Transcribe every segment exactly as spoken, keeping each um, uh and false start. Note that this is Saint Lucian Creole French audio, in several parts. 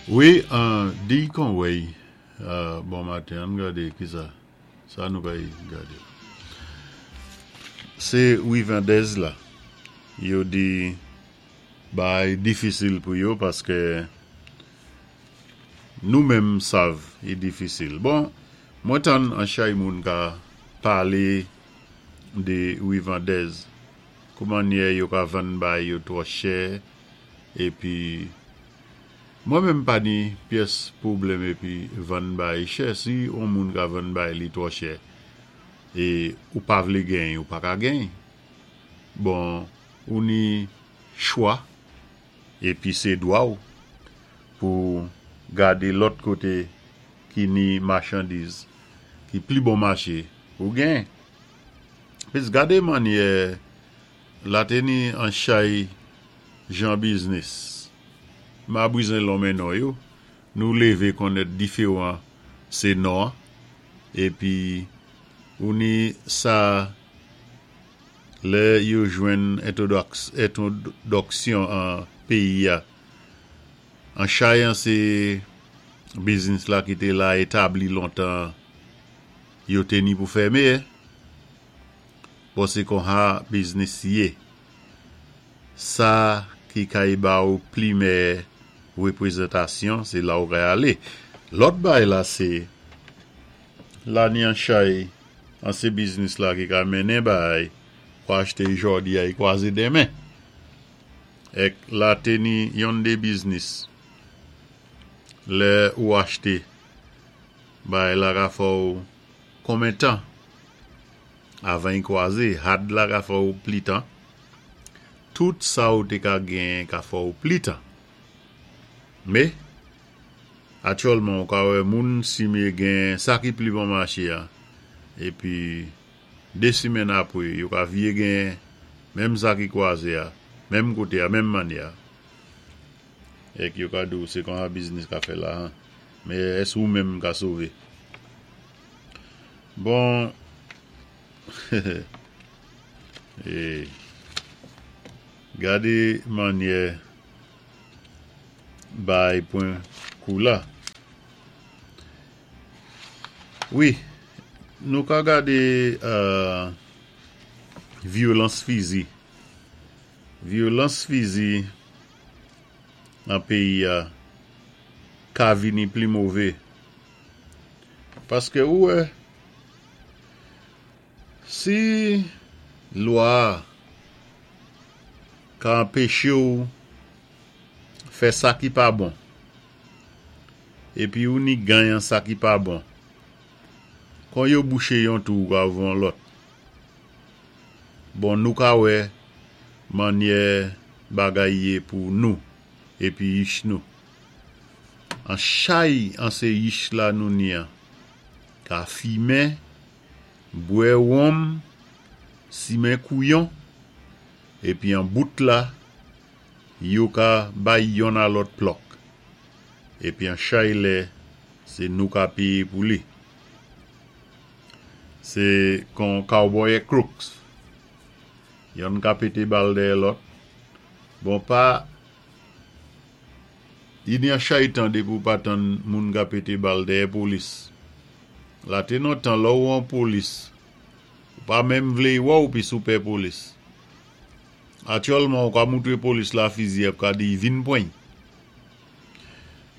Wi, di Conway, bon maten, ann gadé ki sa, sa nou kay gadé. Sé rivandèz la, yo di bagay difisil pou yo paské nou menm sav i difisil. Bon, mwen tann an chay moun ka palé de rivandèz, kou mannyè yo ka vann bay yo twò chè, épi mwen menm pa ni pyès pwoblèm épi vann bay chè, si on moun ka vann bay li twò chè, é ou pa vlé genyen, ou pa ka genyen. Bon, ou ni chwa, épi sé dwa ou pou gadé lòt koté ki ni machandiz, ki pli bon maché pou genyen. Pis gadé mannyè la té ni an chay jan biznis. Ma bizwen lonmen non yo, nou lévé konnèt diféwan sé non, épi ou ni sa lè yo jwenn entwodaksyon an péyi a. An chay an sé biznis la ki té la établi lontan, yo té ni pou fèmen. Bon sé konsa biznis yé. Sa ki kay ba ou pli meyè wépwézantasyon, sé la ou kay alé. Lòt bay la sé, la ni an chay an sé biznis la ki ka mennen bay pou achté jòdi a i kwazé denmen. Èk la té ni yon dé biznis. Lè ou achté, bay la ka fè ou konmen tan avan i kwazé, had la ka fè ou pli tan. Tout sa ou té ka genyen ka fè ou pli tan. Mé, aktyèlman ou ka wè moun simé gen sa ki pli bon maché a, épi dé simenn apwé, yo ka viyé genyen menm sa ki kwazé a, menm koté a, menm mannyè a. Èk yo ka di ou sé konsa biznis ka fè la, mé ès ou menm ka sové? Bon, é, gadé mannyè bay pwan kou la. Wi, nou ka gadé euh, vyolans fizi. Vyolans fizi nan péyi a ka vini pli mové. Paské ou wè, si lwa ka anpéché ou fè sa ki pa bon, épi ou ni ganyan sa ki pa bon, kon yo bouché yon twou ou ka ouvè yon lòt. Bon, nou ka wè mannyè bagay yé pou nou, épi yich nou. An chay an sé yich la nou ni an, ka fimen, bwè wonm, simen kouyon, épi an bout la, yo ka bay yonn a lòt plòk. Épi an chay lè, sé nou ka péyé pou li. Sé kon cowboy é crooks. Yonn ka pété bal dèyè lòt. Bon pa, i ni an chay tan dépi ou pa tann moun ka pété bal dèyè polis. La té nan tan lò ou an polis, ou pa menm vlé wè ou pi sou pè polis. Aktyèlman ou ka moutré polis la fizi ap ka di vin pwan.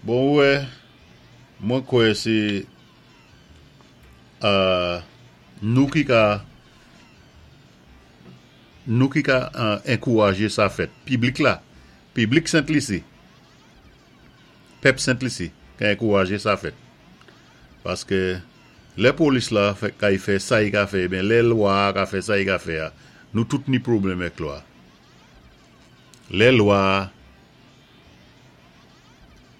Bon wè, mwen kwè sé euh, nou ki ka nou ki ka euh, ankourajé sa fèt. Piblik la, piblik Sent-Lisi, pèp Sent-Lisi, ka ankourajé sa fèt. Paské lè polis la fè, kay fè sa i ka fè, ben lè lwa ka fè sa i ka fè a, nou tout ni pwoblèm èk lwa. Lè lwa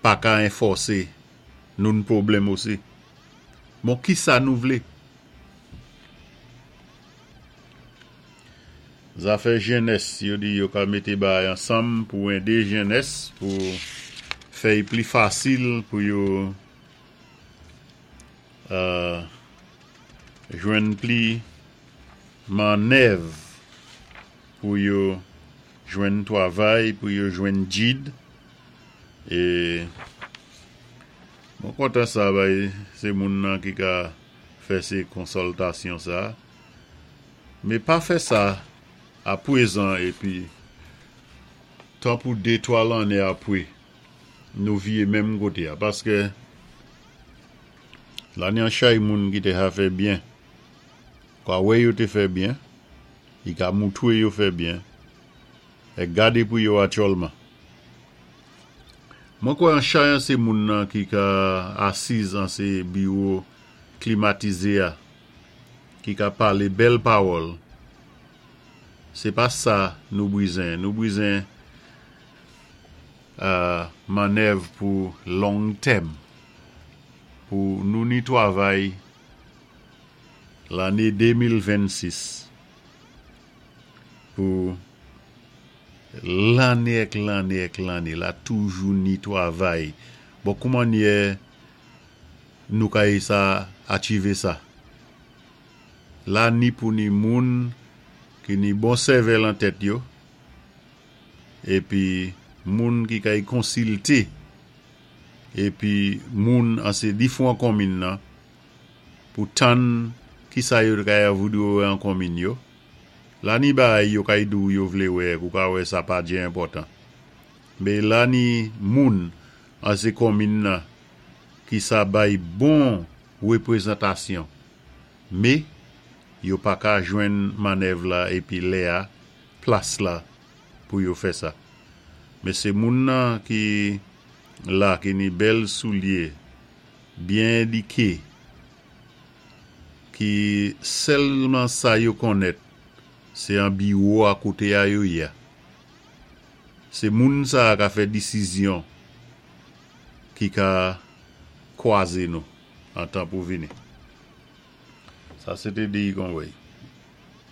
pa ka anfòsé, nou ni pwoblèm osi. Bon, ki sa nou vlé? Zafè jènès, yo di yo ka mété bagay ansanm pou édé jènès, pou fè i pli fasil pou yo euh, jwenn pli mannèv pou yo jwenn twavay, pou yo jwenn djid, é Mwen kontan sa bay sé moun nan ki ka fè sé konsiltasyon sa. Mé pa fè sa apwézan épi tan pou dé twa lanné apwé nou viyé menm koté-a. Paské la ni an chay moun ki té ka fè byen. Kwa wè yo té fè byen, i ka moutwé yo fè byen, é gadé pou yo aktyèlman. Mwen kwè an chay an sé moun nan ki ka asiz an sé biwo klimatizé-a, ki ka palé bèl pawòl. Sé pa sa nou bizen. Nou bizen mannèv pou long tèm. Pou nou ni twavay lanné de mil vennsis. Pou lanné èk lanné èk lanné la toujou ni twavay. Bon, kouman nyè nou kay sa achivé sa? La ni pou ni moun ki ni bon sèvèl an tèt yo, épi moun ki kay konsilté, épi moun an sé difwan konmin nan, pou tann ki sa yo kay voudwé wè an konmin yo. La ni bay yo kay dou yo vlé wè, ou ka wè sa pa djé enpòtan. Mé la ni moun an sé konmin nan ki sa bay bon wépwézantasyon. Mé yo pa ka jwenn mannèv la épi lè-a, plas la pou yo fè sa. Mé sé moun nan ki la ki ni bèl soulyé, byen édiké, ki sèlman sa yo konnèt, sé an biwo a koté a yo yé. Sé moun sa ka fè disizyon ki ka kwazé nou an tan pou vini. Sa sé té D I. Conway.